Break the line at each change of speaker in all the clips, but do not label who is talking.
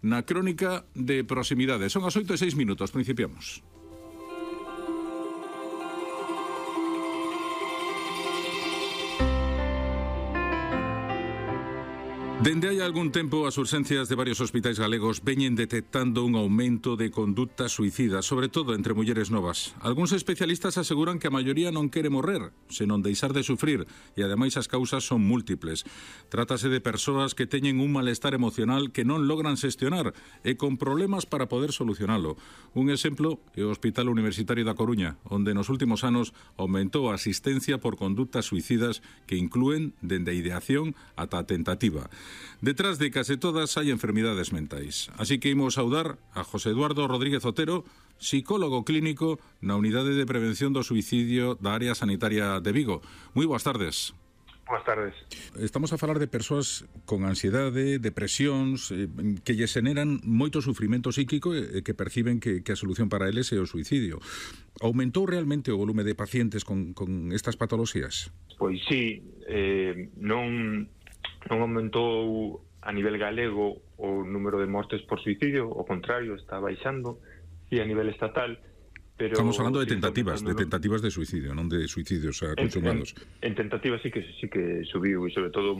na crónica de proximidade. Son as 8:06, principiamos. Dende hai algún tempo as urxencias de varios hospitais galegos veñen detectando un aumento de conductas suicidas, sobre todo entre mulleres novas. Algúns especialistas aseguran que a maioría non quere morrer, senón deixar de sufrir, e ademais as causas son múltiples. Trátase de persoas que teñen un malestar emocional que non logran xestionar e con problemas para poder solucionalo. Un exemplo é o Hospital Universitario da Coruña, onde nos últimos anos aumentou a asistencia por conductas suicidas que inclúen dende a ideación ata a tentativa. Detrás de case todas hai enfermidades mentais. Así que imos saudar a José Eduardo Rodríguez Otero, psicólogo clínico na Unidade de Prevención do Suicidio da Área Sanitaria de Vigo. Moi boas tardes.
Boas tardes.
Estamos a falar de persoas con ansiedade, depresións, que lles generan moito sufrimento psíquico e que perciben que a solución para eles é o suicidio. Aumentou realmente o volume de pacientes con estas patoloxías?
Pois sí, non aumentou a nivel galego o número de mortes por suicidio, ao contrario, está baixando, e a nivel estatal, pero...
Estamos falando de tentativas de suicidio, non de suicidios consumados.
En tentativas sí que subiu, e sobre todo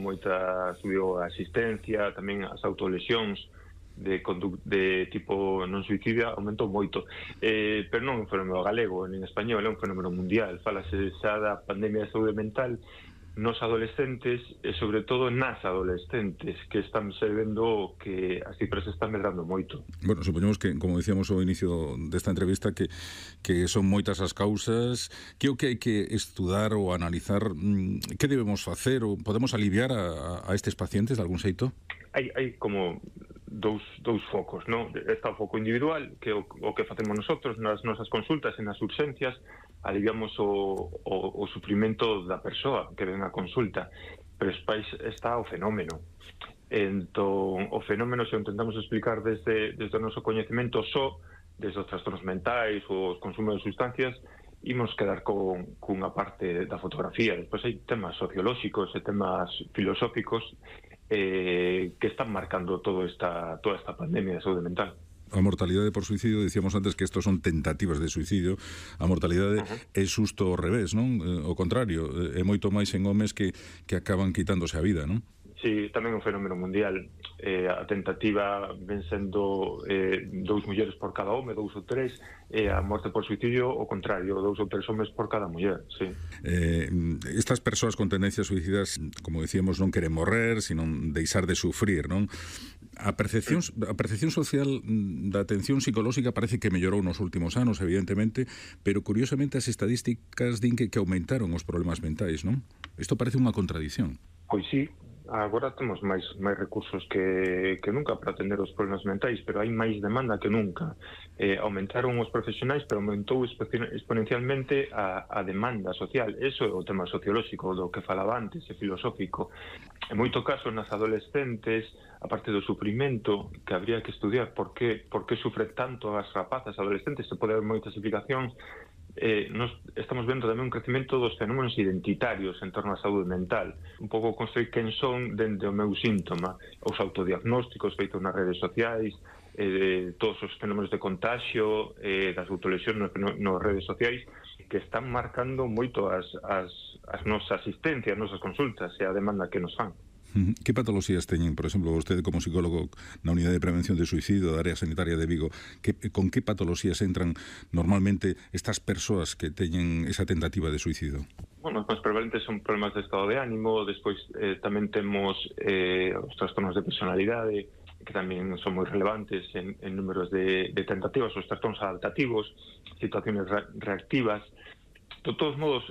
subiu a asistencia, tamén as autolesións de tipo non suicidia aumentou moito, pero non é un fenómeno galego nin español, é un fenómeno mundial. Fálase xa da pandemia de saúde mental nos adolescentes e sobre todo nas adolescentes, que están vendo que as cifras están medrando moito.
Bueno, supoñemos que, como dicíamos ao inicio desta entrevista, que son moitas as causas, que o que hai que estudar ou analizar, que debemos facer ou podemos aliviar a estes pacientes de algún xeito?
Hai como dous focos, non? Está o foco individual, que o que facemos nosotros nas nosas consultas e nas urxencias, aliviamos o sufrimento da persoa que ven a consulta, pero despois está o fenómeno. Entón, o fenómeno, se o intentamos explicar desde o noso coñecemento desde os trastornos mentais ou os consumos de sustancias, imos quedar cunha parte da fotografía. Despois hai temas sociolóxicos e temas filosóficos que están marcando toda esta pandemia de saúde mental.
A mortalidade por suicidio, dicíamos antes que estos son tentativas de suicidio, a mortalidade é xusto ao revés, non? O contrario, é moito máis en homes que acaban quitándose a vida, non?
Sí, tamén un fenómeno mundial. A tentativa ven sendo 2 mulleres por cada home, 2 ou 3, e a morte por suicidio, o contrario, 2 ou 3 homes por cada muller, sí.
Estas persoas con tendencias suicidas, como decíamos, non queren morrer, sino deixar de sufrir, non? A percepción social da atención psicolóxica parece que mellorou nos últimos anos, evidentemente, pero curiosamente as estadísticas din que aumentaron os problemas mentais, non? Isto parece unha contradición.
Pois sí, agora temos máis recursos que nunca para atender os problemas mentais, pero hai máis demanda que nunca. Aumentaron os profesionais, pero aumentou exponencialmente a demanda social. Eso é o tema sociolóxico do que falaba antes, e filosófico. En moito caso, nas adolescentes, a parte do sufrimento, que habría que estudiar por que sufre tanto as rapazas adolescentes, se pode haber moitas explicacións. Nos estamos vendo tamén un crecemento dos fenómenos identitarios en torno á saúde mental, un pouco construir quen son dende o meu síntoma, os autodiagnósticos feitos nas redes sociais, todos os fenómenos de contagio, das autolesións nas redes sociais, que están marcando moito as nosas asistencias, as nosas consultas e a demanda que nos fan.
Que patoloxías teñen, por exemplo, vostede como psicólogo na Unidade de Prevención de Suicidio da Área Sanitaria de Vigo, con que patoloxías entran normalmente estas persoas que teñen esa tentativa de suicidio?
Bueno, os prevalentes son problemas de estado de ánimo, despois tamén temos os trastornos de personalidade, que tamén son moi relevantes en números de tentativas, os trastornos adaptativos, situaciones reactivas. De todos modos,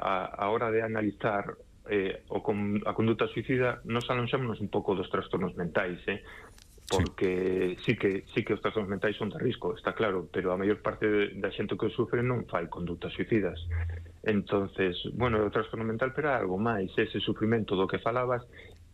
a hora de analizar a conduta suicida, nos alonxámonos un pouco dos trastornos mentais, porque sí que os trastornos mentais son de risco, está claro, pero a maior parte da xente que sufre non fai condutas suicidas. Entonces, bueno, o trastorno mental, pero algo máis, ese sufrimento do que falabas,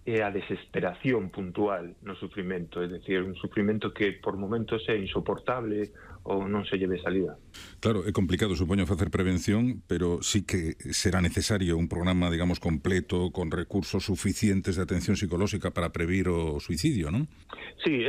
é a desesperación puntual no sufrimento, é dicir, un sufrimento que por momentos é insoportable ou non se lleve salida.
Claro, é complicado, supoño, facer prevención, pero sí que será necesario un programa, digamos, completo, con recursos suficientes de atención psicolóxica para previr o suicidio, non?
Sí,